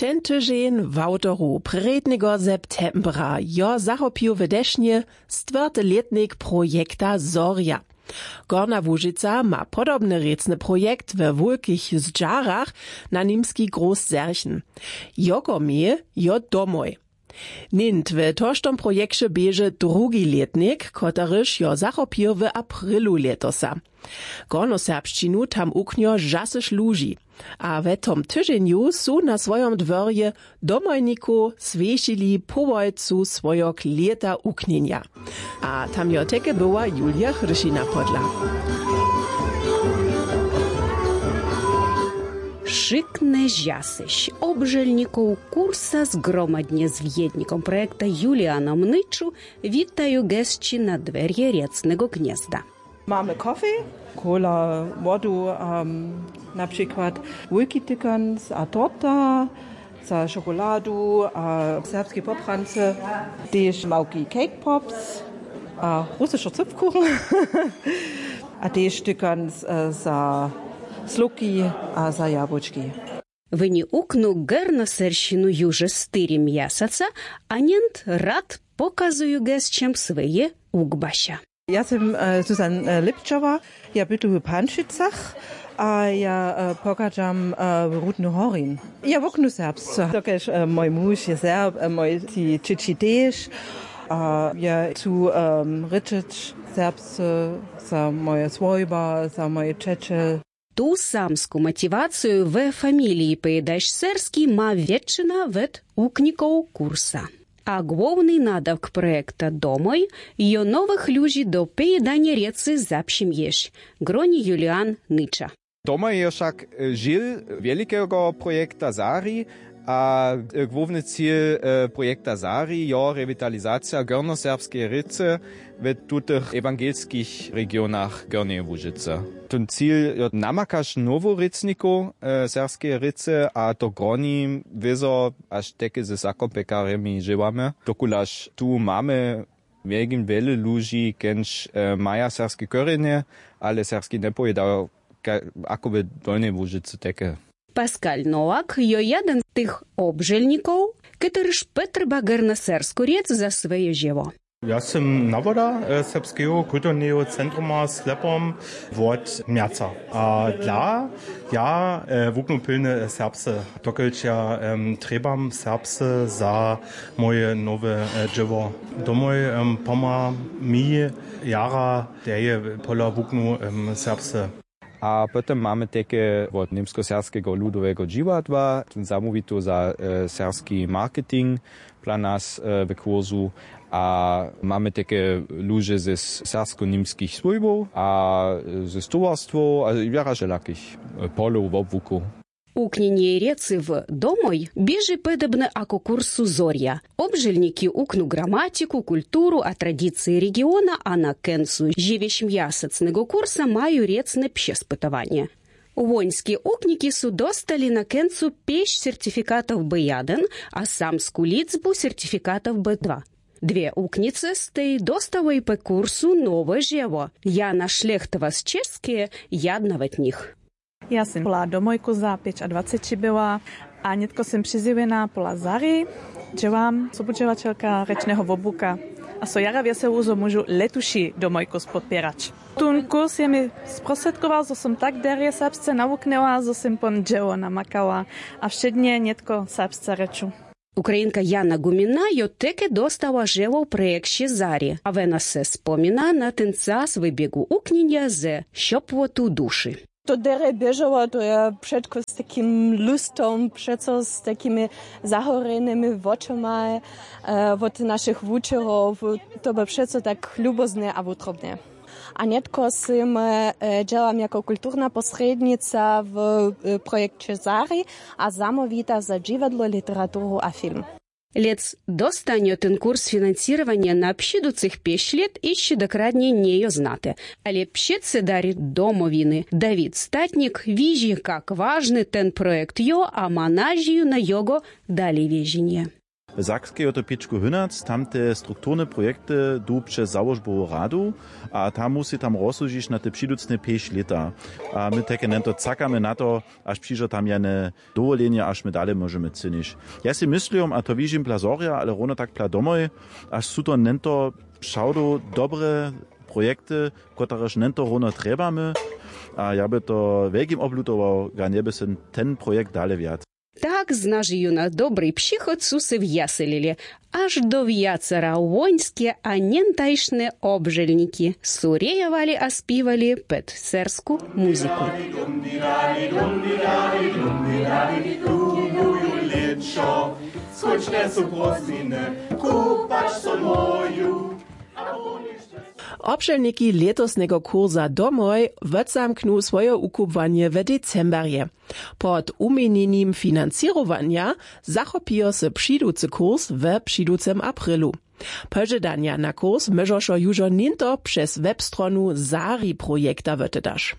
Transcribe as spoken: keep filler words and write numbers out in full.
Ten tyźeń w awtoru prědnigo septembra jo zachopił w dešnje stwjerty lětnik projekta Zorja. Gorna Łužica ma podobny rěcny projekt we wulkich zdźarach na nimski groß serchen. Joko měje jo domoj. Něnt w toštom projekće běže drugi lětnik, kotryž jo zachopił w aprilu lětosa. Gornoserbšćinu tam uknjo žasyš luži. A we tom tyźenju su na swojom dworje domojnikow swjećili połojcu swojog lěta uknjenja. A tam jo teke była Julia Hršina podla. Wšyknje žasyš obželnikow kursa zgromadnje z wjednikom projekta Julianom Nyču witaju gesći na dwerje rjecneho gnjezda. Mamy kofej, kola, wodu, na přikład wulki tykanc a torta, za šokoladu a serbski poprance, tež małki cake pops a rusyšo cypkuchen a tež tykanc za slóki a za jabłučki. Woni uknu gernoseršinu juže štyri mjesaca a njent rad pokazuju gesćom swoje ukbaša. Ja sym susan lipčała. Ja bytu w panšicach a ja pochadźam w rudny horin. Ja woknu serbsce dokelž mój muž je serb, mój tři čěći tež. A ja chcu rěčeć serbsce za moje swójba, za moje ćeće. Tu samsku motiwaciju we familiji pejdaš serski ma wjetšina wot uknikow kursa. A głowny nadawk projekta domoj jo nowych ludźi do pejdanje rěcy zapšimješ. Groni julian nyča. Domoj je wšak žil wjelikego projekta zari. A głowny cil projekta zari jo rewitalizacija gornoserbskeje rěcy w tutych ewangelskich regionach gornjeje łužicy. Ten cil jo namakaš nowu rěcnikow serbskeje rěcy a to groni wězo až teke ze sakopekarjemi žěłamy, dokulaž tu mamy wjelkim wjele ludźi kenž maja serbske korjenje, ale serbski njepowědajo ako w dolnjej łužicy teke. Pascal nowak jo jeden z tych obželnikow, kotryž potrjeba gernoserbsku rěc za swoje žěło. Ja sym nawoda serbskeho kulturneho centruma slepom wot mjerca a dla ja wuknu pilny serbsce, dokelž ja trjebam serbsce za moje nowe dźěło. Domoj pomha mi jara derje pola wuknu serbsce. A potom mamy teke wot němskoserbskeho ludoweho dźiwadła, tón zamołwito za serbski marketing dla nas w kursu. A mamy teke luže ze serbsko-němskich swójbow a ze stowarstwow a wjera wšelakich polow wobłukow. Uknjenje rěcy w domoj běži podobne ako kursu zorja. Obželniki uknu gramatiku, kulturu a tradicije regiona a na kóncu žiwjeśmjasacneho kursa maju rěcne přespytowanje. Łońske ukniki su dostali na kóncu pěsć certifikatow b jedyn a samsku lězbu certifikatow b dwa. Dwě uknice stej dostałoj po kursu nowe žěło. Jana šlechtowa z čěskeje jedna wot nich. Ja sym pola domojku za pěćadwaceći była a nětko sym přizjewjena pola zari. Dźěłam sobudźěłaćelka rěčneho wobłuka a so jara wjesełu zo móžu letuši domojku spodpěrać. Tón kurs je mi sprostřědkował zo sym tak derje serbsce nawuknyła zo sym pon dźěło namakała a wšědnje nětko serbsce rěču. Ukrainka jana gumina jo teke dostała žeło w projekće zari a wena se spomina na ten čas w běgu uknjenja ze šopłotu duši. To derje běžało to je předko z takim lustom přeco z takimi zahorjenymi wočomaj wot našich wučerow. To by přeco tak lubozne a wutrobne. A nětko sym dźěłam jako kulturna posrědnica w projekće zari a zamołwita za dźiwadło literaturu a film. Lěc dostanjo ten kurs financěrowanja na přiducych pěć lět hišće dokładnje njejo znate, ale předsedarj domowiny dawid statnik widźi kak wažny ten projekt jo a ma nažiju na jogo dalejwěženje. W Sakskej jo to pěčku hynac, tamte strukturne projekty du přez załožbowu radu, a tam musi tam rozsudźić na te přiducne pěć lěta. A my tajke nento cakamy na to, až přižo tam jene dowoljenje, až my dale móžemy cynić. Ja sej myslim, a to wižim pla zhorja, ale równo tak pla domoj, až su to nento přawdow dobre projekty, kotrež nento równo trjebamy. A ja by to wjelkim oblutował, ga njeby sym ten projekt dale wjac. Tak znaži jónu dobri přichod su se wjaselili, až do wjacera wońske a njentajšne obželniki su rejowali a spiwali ped sersku muziku. Skończne su prózdniny, kupać so móju. Obšelniki lětosneho kursa domoj wotzamknu swoje wukubłanje w decemberje. Pod wuměnjenim financěrowanja zachopijo se přiducy kurs w přiducym aprilu. Požadanja na kurs móžošo južo něnto přez webstronu zari projekta wotedać.